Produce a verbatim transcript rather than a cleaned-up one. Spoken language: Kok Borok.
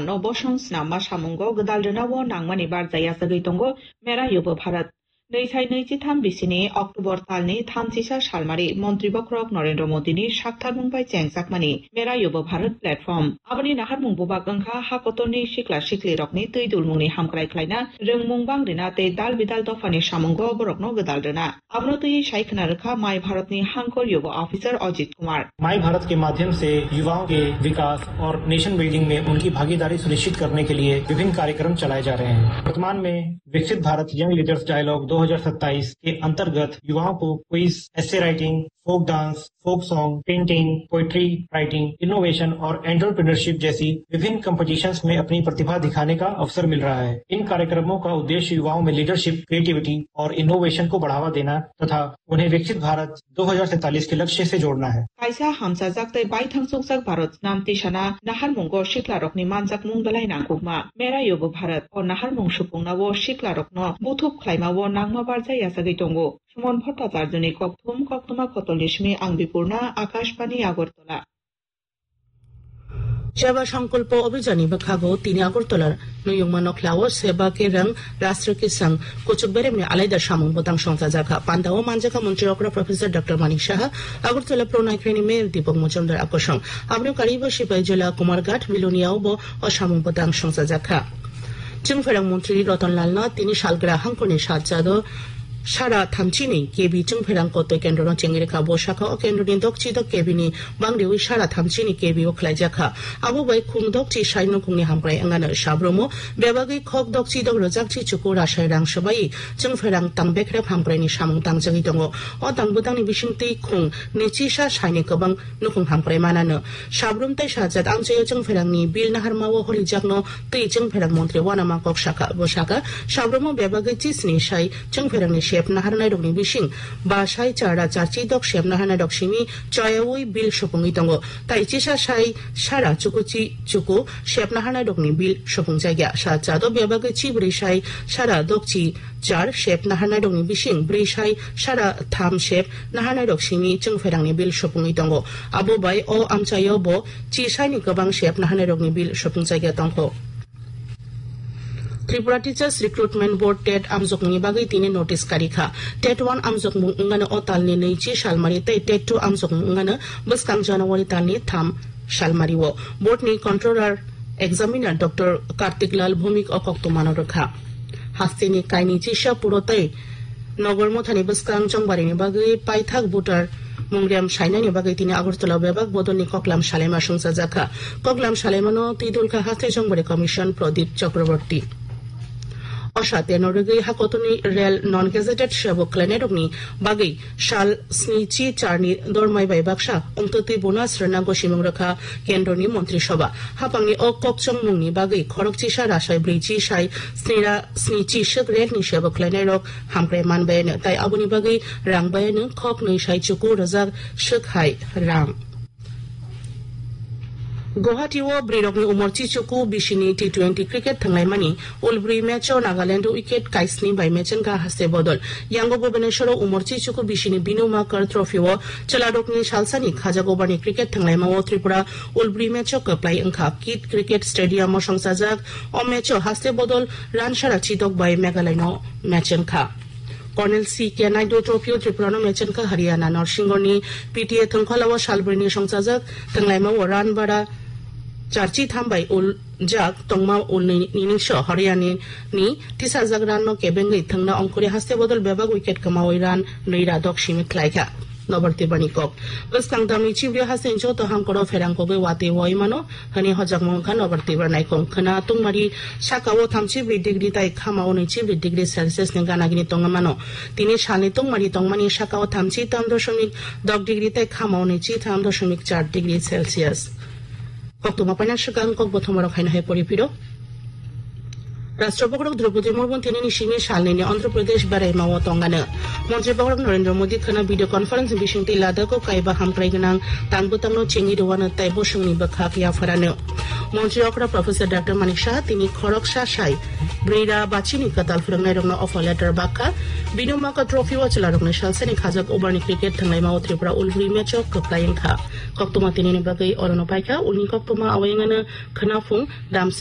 no bosong snamma samungo gwdal rwnao nangmani barja yachagwi tongo Mera Yuva Bharat. Nwi sai nwi chitham bisini October talni thamchisa salmari Montri Bokhorok Narendra Modini saktharmung bai chengjakmani Mera Yuva Bharat platform. Aboni naharmung bubak wngkha hakotorni sikla siklirokni twi dulmungni hamkrai khlaina, rwngmung bang rina tei dal bidal dophani samungo borokno gwdal rwna. Abono twi sai khna rwkha My Bharatni hangkor Yuva Officer Ajit Kumar. माई भारत के माध्यम से युवाओं के विकास और nation building में उनकी भागीदारी सुनिश्चित करने के लिए विभिन्न कार्यक्रम चलाए जा रहे हैं। वर्तमान में विकसित भारत यंग लीडर्स डायलॉग दो हज़ार सत्ताईस के अंतर्गत युवाओं को quiz, essay writing, folk dance, folk song, painting, poetry writing, innovation और एंटरप्रेन्योरशिप जैसी विभिन्न कॉम्पिटिशन्स में अपनी प्रतिभा दिखाने का अवसर मिल रहा है। इन कार्यक्रमों का उद्देश्य युवाओं में लीडरशिप, क्रिएटिविटी और इनोवेशन को बढ़ावा देना तथा उन्हें विकसित भारत दो हज़ार सैंतालीस के लक्ष्य से जोड़ना है। Kaisa hamchajak tei baithang chukjak Bharat nam tisana naharmungo siklarokni manjakmung belai nangkukma. Mera Yuva Bharat o naharmung supungnao siklarokno buthup khlaimao nangma barja yachagwi tongo. Suman Bhattacharjuni kokthum, koktwma kotolni simi ang Bipurna, Akashbani Agartala. Seva Sankalpa Abhijanni bwkhago tini Agartala nuyungma nokhlao Seva Kerang Rashtra Kisang kuchuk beremni alaida samung bwtang songchajakha. Pandao manjakha Montri okra Professor Doctor Manik Saha, Agartala Pronai Khreni Mayor Deepak Majumdar akosong. Aboni karibo Sipai Jila Kumarghat Biloniao bo o samung bwtang songchajakha. Chwngpherang Montri Ratan Lalno tini salgra hangkoni sajado sara thamchini K B chwngpherang kotoi kendrono chengirikha. Bo sakha o kendroni dokchi dok K B ni bangriwi sara thamchini K B o khlaijakha. Abo bai khung dokchi sai nukungni hamkrai wngano. Sabromo bebagwi khok dokchi dok rwjakchi chuku rasai rang swbai chwngpherang tang bekrep hamkraini samung tangjagwi tongo. O tang bwtangni bisingtwi khung nichisa saini kwbang nukung hamkrai manano. Sabrum tei sajat amchaio chwngpherangni bill naharmao holijakno twi chwngpherang montri wanama kok sakha. Bo sakha, sabrumo bebagwi chisni sai chwngpherangni sep naharnairokni bising ba sai chara charchi dok sep naharnairok simi choyaui bill supungwi tongo. Tai chisa sai sara chukuchi chuku sep naharnairokni bill supungjakya. Sajado bebagwi chibrwi sai sara dokchi char sep naharnairokni bising brwi sai sara tham sep naharnairok simi chwngpherangni bill supungwi tongo. Abo bai o amchaio bo chi saini kwbang sep naharnairokni bill supungjakya tongkho. Tripura Teachers Recruitment Board TET amjokmungni bagwi tini notice karikha. TET one amjokmung wngmano o talni nwichi salmari tei TET two amjokmung wngmano bwskang January talni tham salmario. Board ni Controller Examiner Doctor Kartik Lal Bhumik o koktwmano rwkha. Hasteni kaini chisa puro tei Nogor Mothani bwskang chongbarini bagwi paithak voter mungrem sainani bagwi tini Agartala bebak bodolni koklam salaima songchajakha. Koklam salaimano twidulkha Haste Chongbari Commission Pradip Chakraborty. Osa teno rwgwi hakotoni rel non gazetted sebok khlainairokni bagwi sal snichi charni dormai bai baksa wngtwtwi bonus rwna gosimung rwkha kendroni montri soba. Hapangni o kokchongmungni bagwi khorokchisa rasai brwichi sai snira snichi swk relni sebok khlainairok hamkrai manbayano, tai aboni bagwi rang bayano khok nwi sai chuku rwjak swk hai rang. Guwahati o bwrwirokni umor chichuku bisini T twenty cricket thwnglaimani ulbri match o Nagaland o wicket kaisni bai mechengkha haste bodol. Yango Bhubaneswar o umor chichuku bisini Binu Makar Trophy o chwlarokni salsani khajak over ni cricket thwnglaima o Tripura ulbri match o kwplai wngkha. Kit Cricket Stadium o songchajak o match o haste bodol ransara chidok bai Meghalaya no mechengkha. Colonel C K Naidu Trophy o Tripura no mechengkha Haryana. Norsingoni P T A thwngkhola o salbrini songchajak thwnglaima o run bara charchi tham bai uljak tongma ulni nini so Haryana ni tisajak run no kebengwi thwngna ongkhorwi haste bodol bebak wicket kwmawi run nwi ra dok simi khlaikha. Nobar Tibrani kok. Bwskang tamni chibri haste joto hamkoro pherang kogwi watwi wai mano. Hani hojakmung wngkha Nobar Tibra naikhung khwna tungmari saka o thamchi bri degree tai khama o nwichi bri degree Celsius ni ganagini tongma mano. Tini salni tungmari tongmani saka o thamchi tam dosomik dok degree tai khama o nwichi tham dosomik char degree Celsius. Koktwma paina swkang kok bothomorok haino hai pori phiro. Rashtra Bokhorok Draupadi Murmu tinini simi salnini Andhra Pradesh beraima o tongano. Montri Bokhorok Narendra Modi khwna video conference bisingtwi Ladakh o kaiba hamkrai gwnang tang bwtangno chengwi rwano tai bosongni bwkhak yapharano. Montri okra Professor Doctor Manik Saha tini khoroksa sai brwira bachini kwtal phwrwngnairokno offer letter bakha. Bini maka trophy o chwlarokni salsani khajak overni cricket thwnglaima o Tripura ulbri match o kwplai wngkha. Koktwma tinini bagwi orono paikha, ulni koktwma awai wngano khwnaphung damsni